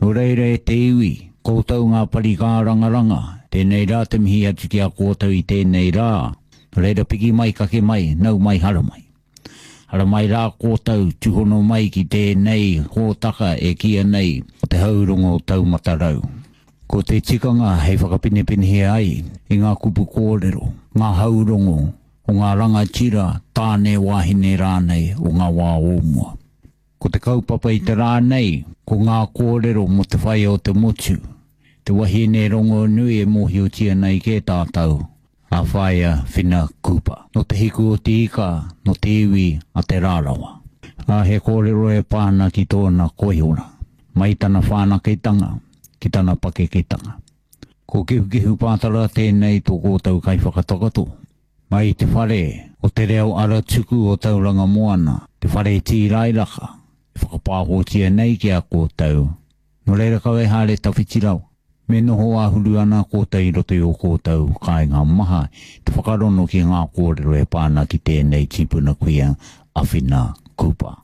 Nō reira e te iwi, koutou ngā pari kārangaranga, tēnei rā te mihi atu ki a koutou i tēnei rā. Nō reira piki mai, kake mai, nau mai, haramai. Haramai rā koutou, tūhono mai ki tēnei hōtaka e kīia nei ko Te Haurongo Taumata Rau. Ko te tikanga hei whakapinepinehia ai i ngā kupu kōrero, ngā haurongo o ngā rangatira, tāne, wāhine rānei o ngā wā o mua. Ko te kaupapa i te rā nei, ko ngā kōrero mō te whaea o te motu, te wahine rongonui e mōhiotia nei kē tātou, a Whaea Whina Cooper. Nō Te Hiku o Te Ika, nō te iwi a Te Rarawa. Ā, he kōrero e pā ana ki tōna koiora, mai tana whānaketanga ki tana pakeketanga. Ko Kehukehu Pātara tēnei tō kōtou kaiwhakatakoto. Mai i te whare o te reo aratuku o Tauranga Moana, te whare tīrairaka e whakapāhotia nei ki a koutou, nō reira kaua e haere tawhiti rawa. Me noho āhuru ana koutou i roto i ō koutou kāinga maha te whakarono ki ngā kōrero e pā ana ki tēnei tipuna kuia a Whina Cooper.